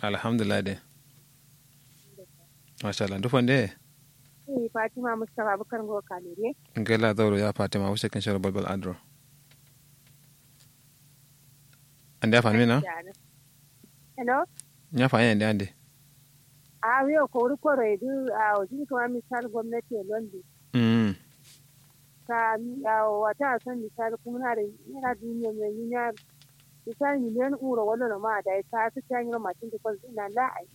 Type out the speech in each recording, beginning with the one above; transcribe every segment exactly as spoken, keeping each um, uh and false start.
Alhamdulillah de. Mashallah ndu fande? Fatima mustapha bukar ngo kalere. Ngela zauro ya fatima wushe kin sharo balbal adro. Ande ya fani mina? Hello. Nya fani ande ande. A wiyo kori koro edu a ojin kuma misal gomnati e londi. Mm. Ka awo wata a son misal kumuna da naira duniya mai yuniya. Misal miliyan uro wallo no ma da ka su ta nyiro matin da kwas ina la ai.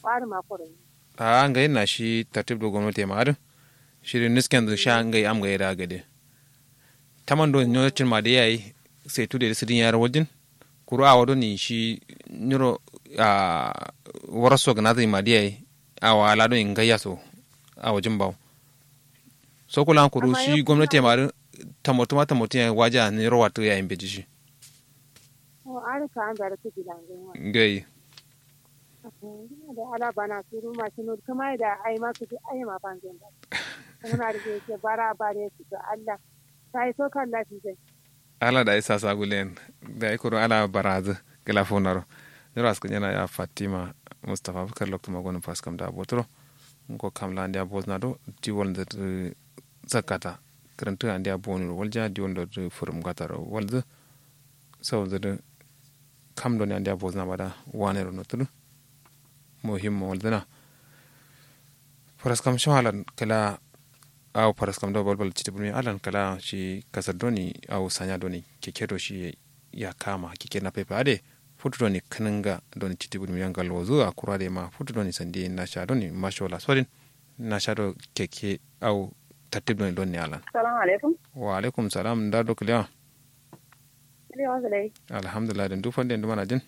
Wari ma koro ni. A ngai na shi tartib do gomnati ma adin. Shi da nisken zu sha ngai am ngai da gade. Taman do nyo cin ma da yayi. Sai tu da su din yar wajin. Kuru awo doni shi nyiro a waraso gana zai ma da yayi. Awo ala doni ngai yaso. Awo jin bawo. Sokulan kuru shi gomnati ma da tamotu ma tamotu yayi waja nyiro watu yayi mbeji shi. Ngai. Ala bana suru ma shi nur kuma da ai ma su ai ma fangen da. Kuma da ke bara bare su to Allah. Sai so kan lafi sai. Ala da isa sagulen da ikuru ala barazu. Gila fonaro. Nyiro askun yana ya fatima. Mustapha bukar loktu magonin faskam da botro. Ngo kam la ndia bozna do diwol ndir. Sakata. Kirintu andia bonu walja diwol ndir furum gataro walzu. Sau ziri kam doni andia bozna bada. Wane ro notur. Muhimmo walzina. Faraskam sho alan kala. Awo faraskam do balbal citi bulmi alan kala shi kasar doni awo sanya doni keke do shi. Ya kama keke na pepe ade. Futu doni kininga doni citi bulmi yangal wazu a kura de ma futu doni sandi nasha doni masho la sodin. Nasha do keke. Awo tartib doni doni alan. Salamu alaikum. Wa alaikum salam nda do kilewa. Alhamdulillah din duk fande duk mana jin.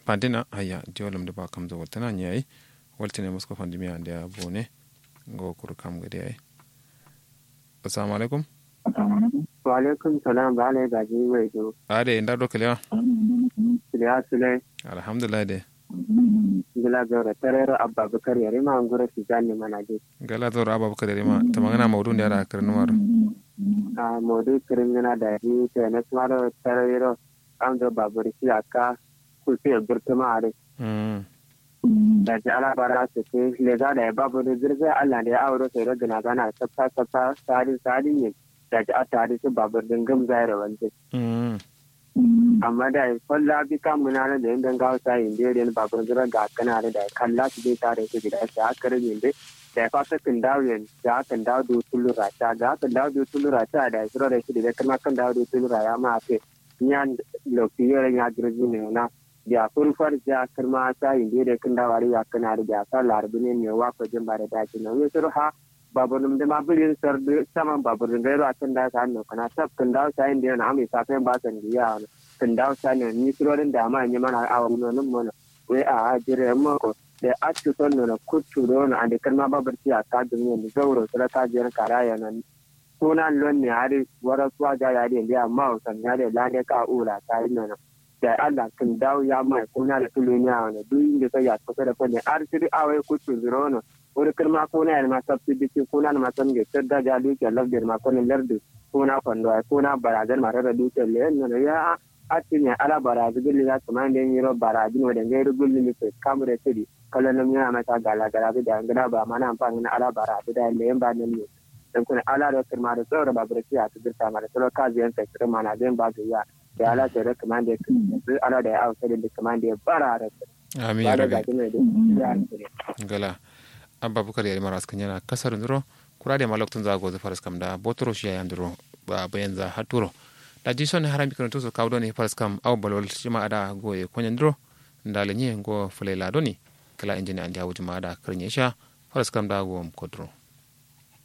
Fandina ayya jiwalam da ba kamza waltana ni yayi. Waltane musko fandimi ande ya bone. Ngo kuru kam gade yayi. Assalamu alaikum. Wa alaikum salam ba alai gaji wai do. Ade inda do kalewa. Kalewa sule. Alhamdulillah de. Ngila zaura tarero abba bukar yarima ngura tijani mana de. Ngila zaura abba bukar yarima tamangana maudu ne ara karnumaro. A maudu kiringina daji. Tene sumaro tarero. Amdo babur shi akka. Kusu ya burtuma are. Daji ala bara su ke leza da ya babur zirga allah da ya auro sai rogina gana tsafta tsafta. Sadin sadin ne. Daji atta hadin su babur din gam zaira wanje. Amma da ya kwalla bi kamuna na da yin dangawa sa yin da yin babur zirga ga kana da ya kalla su bai tare su gida sai aka rage yin da ya fasa kan dawo yin da aka dawo da tulura ta ga aka dawo da tulura ta da ya tsiro da shi da ya kama kan dawo da tulura ya ma fe. Nyan lokti yore nya girzi ne na. Biya furfar ja kirma sa inde de kinda wari ya kana da biya sa larbi ne ne wa ko jin bare da ki no yo suru ha. Babur num de ma birin sar de saman babur num de ro akan da sa no kana sab kinda sa inde na ami sa fen ba san diya. Kinda sa ne ni suru din da ma ni mana awa no num mo no. We a jire mo ko de attu ton no kutu do no ande kirma babur ti aka dun ne zauro sura ka jira karaya no. Kuna lon ne hari wara suwa ja ya de ya ma o san ya de lande ka ula ta ino no. Da allah kin dawo ya mai kuna da tuluniya wani duk inda sai ya kusa da kone har siri awai kutu zuro no. Wuri kirma kuna ya ma sabti biki kuna ma san ge tadda ja duke lafdin ma kone lardu. Kuna kwando ai kuna barazan ma rarra duke le no ya. Atti ne ala barazi gulli ya kuma inda yin yiro barazi no da ngai gulli ni sai kamre siri. Kallon nan yana mata gala gala da ngana ba mana amfani na ala barazi da le ba nan ne. Dan kuna ala da kirma da tsoro ba burki ya tudur ta mara tsoro ka ziyan sai kirma na zan ba ga ya. Ya ala sai da kuma da kirma ala da ya ausa da kuma da bara da. Amin ya rabi. Gala. Abba bukar yari mara askan yana kasar nuro. Kura da ma lokacin za a gozu faras kam da botoro shi ya yanduro. Ba bayan za haturo. Da ji son haram bikin tuso kawo doni faras kam au balwal shi ma ada goye konyan duro. Nda lenye ngo fulaila doni. Kala injini andi awuji ma ada kirnye sha. Faras kam da go kodro.